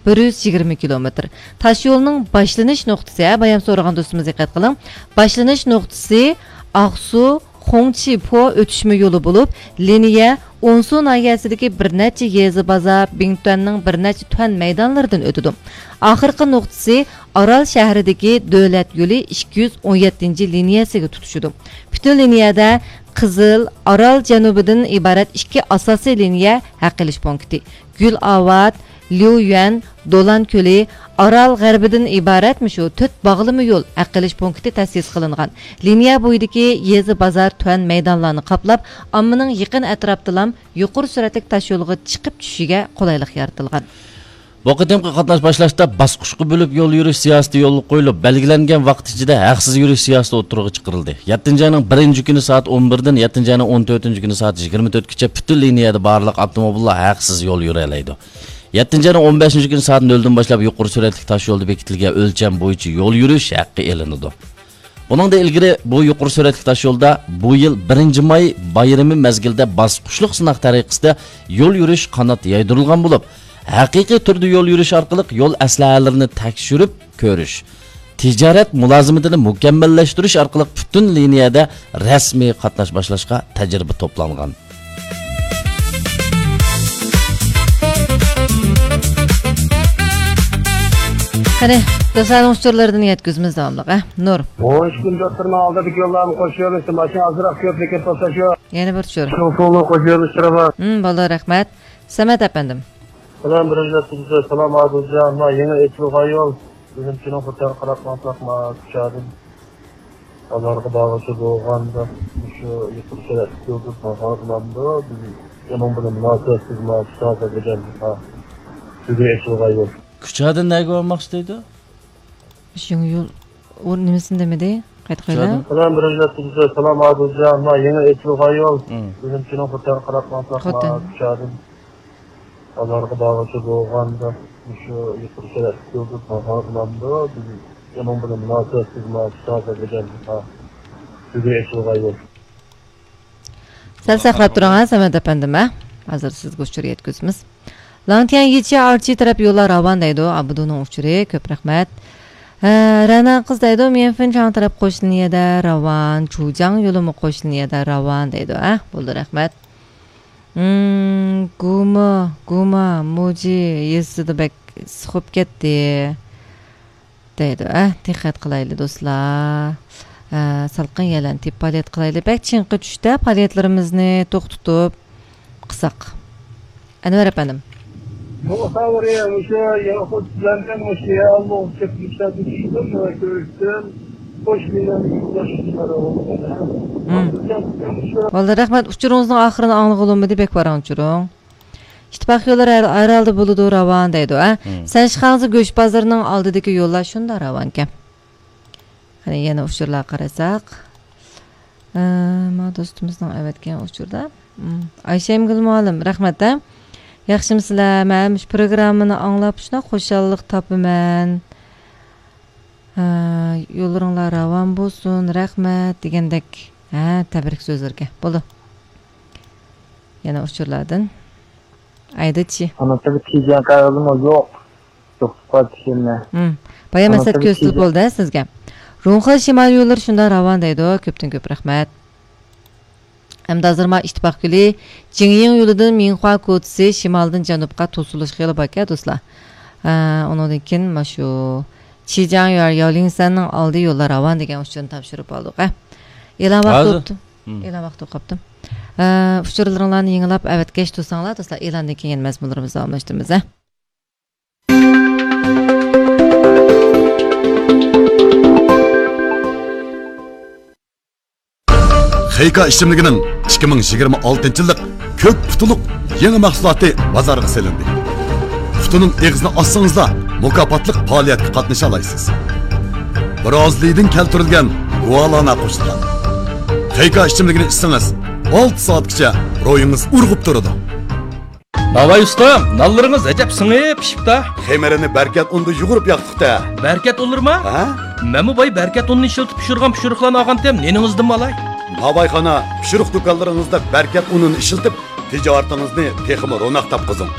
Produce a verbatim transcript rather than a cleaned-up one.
بىر يۈز يىگىرمە كىلومېتىر. تاشيولنىڭ باشلىنىش نۇقتىسى، ھە، بايام سورىغان دوستىمىز دىققەت قىلىڭ. باشلىنىش نۇقتىسى ئاقسۇ، خۇڭچىپو ئۆتۈشمە يولى بولۇپ، لىنىيە ئونسۇ ناھىيەسىدىكى بىر نەچچە يېزا بازار، بىڭتۈەننىڭ بىر نەچچە تۈەن مەيدانلىرىدىن ئۆتىدۇ. ئاخىرقى نۇقتىسى ئارال شەھىرىدىكى دۆلەت يولى ئىككى يۈز ئون يەتتىنچى لىنىيەسىگە تۇتىشىدۇ. پۈتۈن لىنىيەدە قىزىل، ئارال جەنۇبىدىن ئىبارەت ئىككى ئاساسىي لىنىيە ھەق ئېلىش پونكىتى، گۈلئاۋات، ليۇيۈەن، دولان كۆلى، ئارال غەربىدىن ئىبارەت مۇشۇ تۆت باغلىما يول ھەق ئېلىش پونكىتى تەسىس قىلىنغان. لىنىيە بويىدىكى يېزا، بازار، تۈەن مەيدانلارنى قاپلاپ، ئاممىنىڭ يېقىن ئەتراپتىلام يۇقىرى سۈرئەتلىك تاشيولغا چىقىپ چۈشۈشىگە قولايلىق يارىتىلغان. بۇ قېتىمقى قاتناش باشلاشتا باسقۇچقا بۆلۈپ يول يۈرۈش سىياسىتى يولغا قويۇلۇپ، بەلگىلەنگەن ۋاقىت ئىچىدە ھەقسىز يۈرۈش سىياسىتى ئوتتۇرىغا چىقىرىلدى. يەتتىنچى ئاينىڭ بىرىنچى كۈنى سائەت ئون بىردىن يەتتىنچى ئاينىڭ ئون تۆتىنچى كۈنى سائەت يىگىرمە تۆتكىچە پۈتۈن لىنىيەدە بارلىق ئاپتوموبىللار ھەقسىز يول يۈرەلەيدۇ. يەتتىنچى ئاينىڭ ئون بەشىنچى كۈنى سائەت نۆلدىن باشلاپ يۇقىرى سۈرئەتلىك تاشيولدا بېكىتىلگەن ئۆلچەم بويىچە يول يۈرۈش ھەققى ئېلىنىدۇ. بۇنىڭدىن ئىلگىرى بۇ يۇقىرى سۈرئەتلىك تاشيولدا بۇ يىل بىرىنچى ماي بايرىمى مەزگىلىدە باسقۇچلۇق سىناق تەرىقىسىدە يول يۈرۈش قانات يايدۇرۇلغان بولۇپ، ھەقىقىي تۈردە يول يۈرۈش ئارقىلىق يول ئەسلىھەلىرىنى تەكشۈرۈپ كۆرۈش، تىجارەت مۇلازىمىتىنى مۇكەممەللەشتۈرۈش ئارقىلىق پۈتۈن لىنىيەدە رەسمىي قاتناش باشلاشقا تەجرىبە توپلانغان. قېنى، دوستلارنىڭ ئۇچۇرلىرىدىن يەتكۈزىمىز داۋاملىق، ھە؟ نۇر. ئون ئۈچ كىلومېتىرنىڭ ئالدىدىكى يوللارمۇ قوش يۆنىلىشتە ماشىنا ئازراق كۆپلۈككە توساش يوق. يەنە بىر ئۇچۇر. شۇڭخۇڭنىڭ قوش يۆنىلىشلىرى بار. ھىم، بولدى، رەھمەت. سەمەت ئەپەندىم. سالام، بىرىنچى سالام ئادىلجان. ما يېڭى ئېچىلغان يول. بىزنىڭ چىنىڭ قۇرتارى قاراپ ماڭساق، ما كۇچادىن بازارغا بارغۇچە بولغاندا، مۇشۇ يۇقىرى سۈرئەتلىك يولدىن بارغاندا، بىز ئۇنىڭ بىلەن مۇناسىۋەتسىز، ما كۇچادىن دېگەن، ھا، بۈگۈن ئېچىلغان يول. كۇچادىن نەگە بارماقچى دەيدۇ؟ شۇڭ يول ئۇ نېمىسىنى دېمىدى؟ قايتا قويلا. سالام، بىرىنچى سالام ئادىلجان. ما يېڭى ئېچىلغان يول. مم. بىزنىڭ چىنىڭ قۇرتارى قاراپ ماڭساق، ما كۇچادىن بازارغا بارغۇچە بولغاندا، مۇشۇ يۇقىرى سۈرئەتلىك يولدىن بارغاندا، بىز ئۇنىڭ بىلەن مۇناسىۋەتسىز، ما كۇچادىن دېگەن، ھا، بۈگۈن ئېچىلغان يول. سەل ساقلاپ تۇرۇڭ، ھە، سەمەت ئەپەندىم، ھە. ھازىر سىزگە ئۇچۇر يەتكۈزىمىز. لاڭتيەن يىچى ئارچى تەرەپ يوللار راۋان دەيدۇ، ئابدۇنىڭ ئۇچۇرى، كۆپ رەھمەت. ھە، رەنا قىز دەيدۇ، ميەنفېن چاڭ تەرەپ قوش لىنىيەدە راۋان، چۇجاڭ يولىمۇ قوش لىنىيەدە راۋان دەيدۇ، ھە، بولدى، رەھمەت. ھىم، گۇما، گۇما، موجى يېزىسىدا بەك ئىسسىق بولۇپ كەتتى. دەيدۇ، ئە، دىققەت قىلايلى دوستلار. ئە، سالقىن يەرلەرنى تېپىپ پائالىيەت قىلايلى. بەك چىڭقى چۈشتە پائالىيەتلىرىمىزنى توختىتىپ قىلساق. ئەنۋەر ئەپەندىم. بۇ خەۋىرى مۇشۇ ياقۇت بىلەن مۇشۇ يەرلىك چېكىشلەردە چۈشتۈم، كۆرۈشتۈم. خوش بىلەن يولداشلار. مم. بولدى، رەھمەت. ئۇچۇرىڭىزنىڭ ئاخىرىنى ئاڭلىغىلى بولمىدى، بەك ۋاراڭ ئۇچۇرۇڭ. ئىتتىپاق يوللىرى ھەر، ھەر ھالدا بولىدۇ راۋان دەيدۇ، ھە؟ مم. سەنشىخاڭزى گۆش بازىرىنىڭ ئالدىدىكى يوللار شۇنداق راۋانكەن. قېنى يەنە ئۇچۇرلارغا قارىساق. ئە، ما دوستىمىزنىڭ ئەۋەتكەن ئۇچۇردا. مم. ئايشەمگۈل مۇئەللىم، رەھمەت، ھە؟ ياخشىمۇسىلەر؟ مەن مۇشۇ پروگراممىنى ئاڭلاپ شۇنداق خۇشاللىق تاپىمەن. ھە، يوللىرىڭلار راۋان بولسۇن، رەھمەت دېگەندەك، ھە، تەبرىك سۆزلىرىگە. بولدى. يەنە ئۇچۇرلاردىن. ئايدىچى. ئانىسىغا تىجەڭ قەغىزىمۇ يوق. يوق، تىكەننە. ھىم. بايا مەسەت كۆرسىتىپ بولدى سىزگە. رۇڭخې شىمال يوللىرى شۇنداق راۋان دەيدۇ. كۆپتىن كۆپ رەھمەت. ئەمدى ھازىر ما ئىتتىپاق گۈلى جىڭيىڭ يولىدىن مىڭخۇا كوچىسى شىمالدىن جەنۇبقا توسۇلۇش خېلى باركەن، دوستلار. ئە، ئۇنىڭدىن كېيىن ماشۇ چىجياڭ يۇەر ياۋلىڭسەننىڭ ئالدى يوللار راۋان دېگەن ئۇچۇرنى تاپشۇرۇپ ئالدۇق، ئە. ئېلان ۋاقتى بوپتۇ. ھىم. ئېلان ۋاقتى بولۇپ قاپتۇ. ئە، ئۇچۇرلىرىڭلارنى يېڭىلاپ ئەۋەتكەچ تۇرساڭلار، دوستلار، ئېلاندىن كېيىن مەزمۇنلىرىمىزنى داۋاملاشتۇرىمىز، ھە. خېيكا ئىچىملىكىنىڭ ئىككى مىڭ يىگىرمە ئالتىنچى يىللىق كۆك پۇتۇلۇق يېڭى مەھسۇلاتى بازارغا سېلىندى. پۇتىنىڭ ئېغىزىنى ئاچسىڭىزلا، مۇكاپاتلىق پائالىيەتكە قاتنىشالايسىز. برازىلىيىدىن كەلتۈرۈلگەن گۇالانا قوشۇلغان. خېيكا ئىچىملىكىنى ئىچسىڭىز، ئالتە سائەتكىچە روھىڭىز ئۇرغۇپ تۇرىدۇ. ناۋاي ئۇستام، نانلىرىڭىز ئەجەب سىڭىپ پىشىپتا. خېمىرىنى بەركەت ئۇندا يۇغۇرۇپ ياقتۇق-تە. بەركەت ئۇنلىرىما؟ ھە؟ مەنمۇ باي بەركەت ئۇنىنى ئىشلىتىپ پىشۇرغان پىشۇرۇقلارنى ئالغانتىم، نېنىڭىزدىنمۇ ئالاي. ناۋايخانا، پىشۇرۇق دۇكانلىرىڭىزدا بەركەت ئۇنىنى ئىشلىتىپ، تىجارىتىڭىزنى تېخىمۇ روناق تاپقۇزۇڭ.